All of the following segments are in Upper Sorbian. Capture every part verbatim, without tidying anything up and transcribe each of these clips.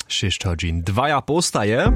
Šěsć hodźin dwaja połstaje.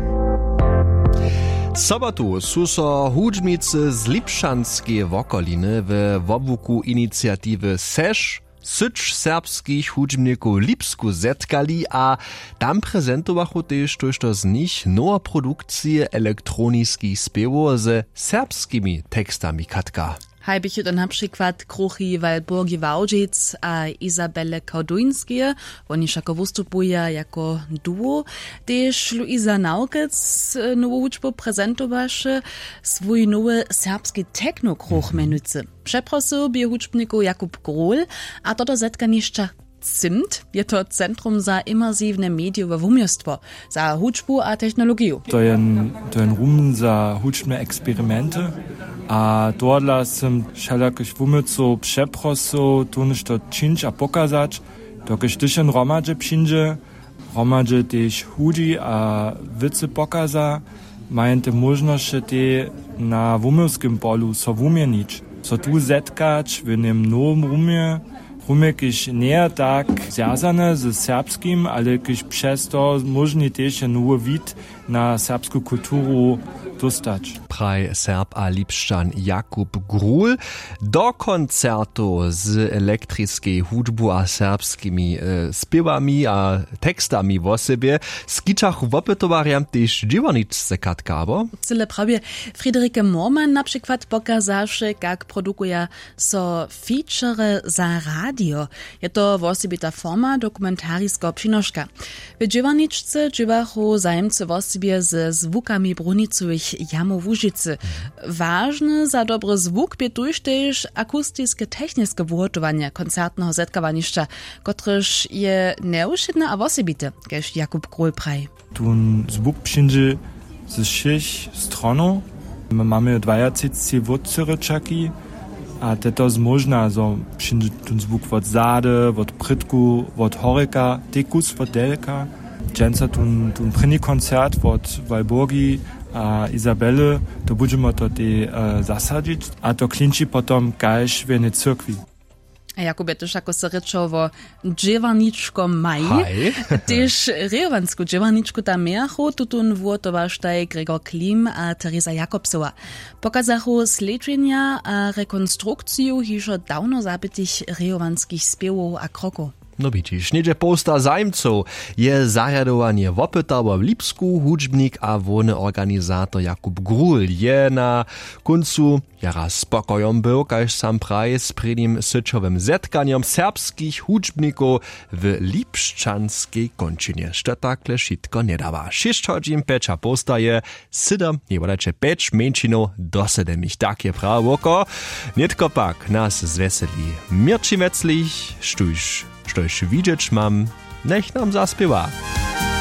Sobotu su so hudźbnicy z Lipšćanskeje wokoliny we wobłuku iniciatiwy seš syć serbskich hudźbnikow w Lipsku zetkali a tam prezentowachu tež tójšto z nich nowe produkcije elektroniskich spěwow ze serbskimi tekstami. Katka. Haj běchu to na přikład kruchi Walburgi Wałdźic a Izabele Kałduńskeje. Woni wšako wustupuja jako duo. Tež Luisa Nawkec nowu hudźbu prezentowaše, swój nowy serbski techno kruch mjenujcy. Přeprosył bě hudźbnikow Jakub Grohl. A to do zetkanišća CIMT, je to Centrum za imersiwne medijowe wuměłstwo za hudźbu a technologiju. To je to je rum za hudźbne eksperimenty. A tohodla sym wšelakich wuměłcow přeprosył tu něšto čińć a pokazać, dokelž tyž jen hromadźe přińdźe, hromadźe tež hudźi a wěcy pokaza, maja te móžnosće tej na wuměłskim polu so wuměnić, so tu zetkać w jenem nowym rumje, rumje kiž njeje tak zwjazane ze serbskim, ale kiž přez to móžni tež je nowy wid na serbsku kulturu dóstać. Praj Serb a Lipšćan Jakub Gruhl. Do koncertow z elektriskej hudźbu a serbskimi spěwami a tekstami wosebje skićachu wopytowarjam tež dźěłarničce. Katka abo cyle prawje. Friederike Morman na přikład pokazaše, kak produkuja so feature za radio. Je to wosebita forma dokumentariskeho přinoška. W dźěłarničce dźěłachu zajimcy wosebje ze zwukami brunicowych jamow łužicy. Wažne za dobry zwuk bě tuž tež akustiske techniske wuhotowanje koncertneho zetkawanišća, kotrež je njewšědne a wosebite, kaž Jakub Grohl praji. Tón zwuk přińdźe ze wšěch stronow. My mamy dwajatřiceći wótřěrěčaki a te to zmóžna, zo přińdźe tón zwuk wot zady, wot prědku, wot horjeka, tekus wot delka. Dźensa tón prěni koncert wot Walburgi a Izabele, to budźemy to tej zasadźić a to klinči potom kaž w jenej cyrkwi. A jako bě to wšako so rěčował wo dźěłarničkomaj, tež rejowansku dźěłarničku tam mějachu, tutón wuhotowaštaj Gregor Klim a Teresa Jakobsowa. Pokazachu slědźenja a rekonstrukciju hižo dawno zabitych rejowanskich spěwow a krokow. No widźiš, něhdźe połsta zajimcow je zarjadowanje wopytało w Lipsku. Hudźbnik a hłowny organizator Jakub Gruhl je na kóncu jara spokojom był, kaž sam praji, z prěnim syćowym zetkanjom serbskich hudźbnikow w Lipšćanskej kónčinje. Što takle wšitko njedawa? Šěsć hodźin pjeća połstaje, sydom, njewodajće pjeć mjeńšinow do sydemich, tak je prawo woko. Nětko pak nas zwjeseli Měrćin Weclich, štóž štóž widźeć mam, njech nam zaspěwa.